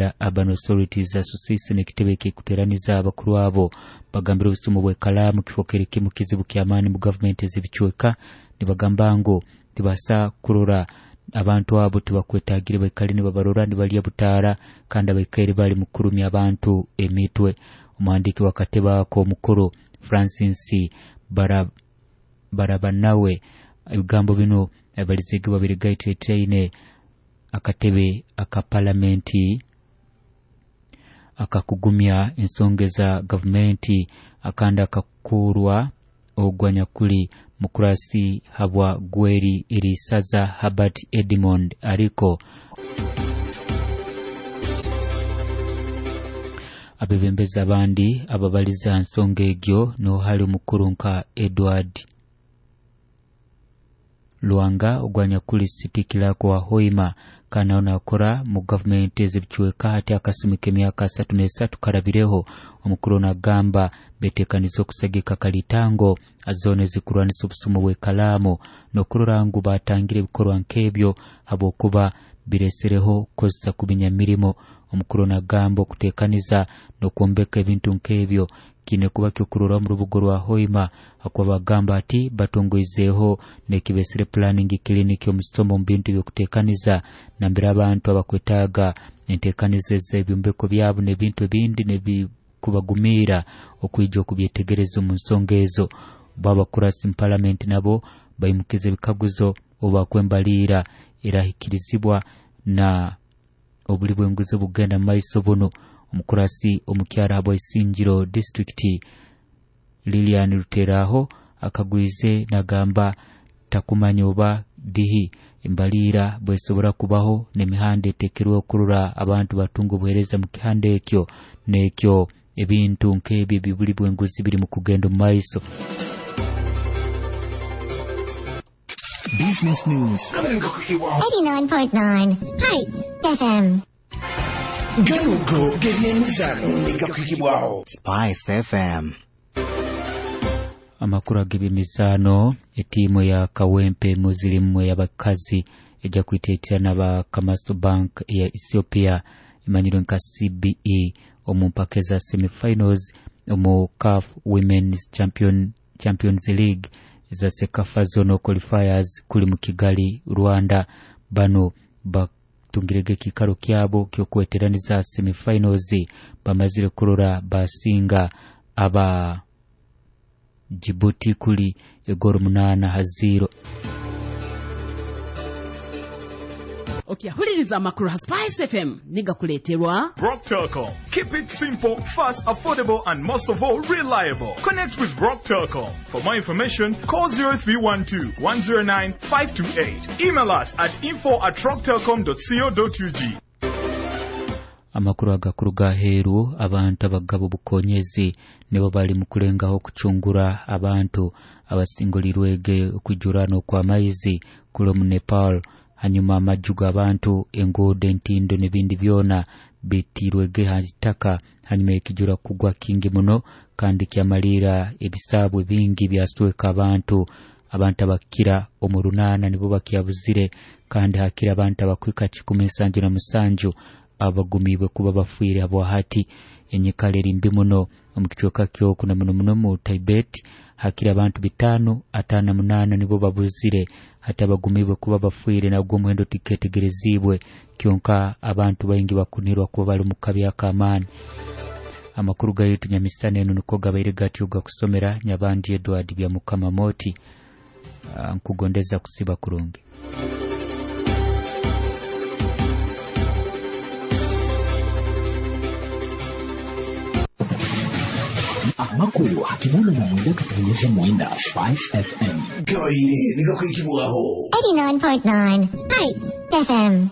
Uganda Urban Authorities Association ekitebe ekikuteraniza abakuru abo bagambira obusumu bw'ekalaamu kifokere kimu kizibu ky'amaani mu gavumenti ez'ebicweka. Nibagamba ngu tibasa kurora abantu abo tibakwetagire baikale nibabarora nibalya butaara kandi abaikaire bali mu kurumya abantu emitwe. Omuhandiiki w'akatebe ako omukuru Francis Barabanawe ebigambo bino abalizege babiri gaiteteine akatebe aka palamenti akakugumya ensonga za gavumenti akandi akakurwa ogwanyakuli mukurasi habwa Gweri Irisaza Herbert Edmond ariko abebembezi abandi ababaliza nsonga egyo niho hali omukuru nka Edward Lwanga ogwanyakuli City Clerk wa Hoima kandi nawe nakora mu gavumenti ez'ebicweka hati akasumi k'emyaka 33 karabireho. Omukuru nagamba betekaniza okusagika kalitango azone ezikurwanisa obusumu bw'ekalaamu n'okurora ngu batangire ebikorwa nk'ebyo habwokuba biresereho kukozesa kubinya mirimo. Omukuru nagamba okutekaniza n'okwombeka ebintu nk'ebyo kiine kuba kyokurora omu rubuga rwa Hoima akuba bagamba ati batongoizeeho n'ekibesere planning clinic omusomo omu bintu by'okutekaniza nambere abantu abakwetaaga entekaniza ez'ebyombeko byabo n'ebintu ebindi n'ebikubagumiira okwija okubyetegereza omu nsonga ezo. Bo abakurasi mu palamenti nabo baimukiza ebikaguzo obu bakwembaliira erahikirizibwa na obuli bw'enguzi obugenda mu maiso buno. Omukurasi omukyara habwa Isingiro disitulikiti Lilian Ruteraho akagwize nagamba takumanya oba dihi embaliira bwesobora kubaho n'emihanda etekerwe okurora abantu batunga obuheereza mu kihanda ekyo n'ekyo ebintu nk'ebyo eby'obuli bw'enguzi biri mu kugenda omu maiso. Business News 89.9 Spice FM. Ganugo g'ebyemizano nigakwikibwaho Spice FM. Amakuru ag'ebyemizaano, etiimu ya Kawempe Muslim ey'abakazi ejja kwiteetera n'aba Kamaso Bank eya Ethiopia emanyirwe nka CBE omu mpaka eza semifinals omu CAF Women's Champions League eza CECAFA Zonal Qualifiers kuli mu Kigali, Rwanda. Bano batungirege ekikaro kyabo ky'okweteraniza semifinals bamazire kurora basinga aba Djibouti kuli egoro 8-0. Okyahuliriza amakuru ha Spice FM nigakuleterwa Rock Telcom. Keep it simple, fast, affordable, and most of all, reliable. Connect with Rock Telcom. For more information, call 0312 109 528. Email us at info@rocktelcom.co.ug. Amakuru agakuru gaheru abantu abagabo bukonyezi nibo bali mu kulengaho kucungura abantu abasingolirwege okwijurano kwa maizi kule mu Nepal. Hanyuma amaju g'abantu, enguudo, entindo n'ebindi byona bitirwege ha itaka hanyuma ekijura kugwa kingi muno kandi kyamalira ebisaabwe bingi byasweka abantu. Abantu abakira omu 8 nibo bakyabuzire kandi hakira abantu abakwika 177 abagumiibwe kuba bafiire habwahati. Enyikara eri mbi muno omu kicweka kyoku na muno muno mu Tibet hakira abantu 558 nibo babuzire hati abagumiibwe kuba bafiire nagwo omuhendo tiketegerezibwe kyonka abantu baingi bakunirwa kuba bali mu kabi ak'amaani. Amakuru gaitu nyamisana eno niko gabaire gatyo gakusomera Nyabandi Edward Byamukama Moti. Nkugondeza kusiba kurungi. Amakuru hakinana na mwenda katunyeze mwenda Spice FM. Gabaire nigakwikibwaho 89.9 Spice FM.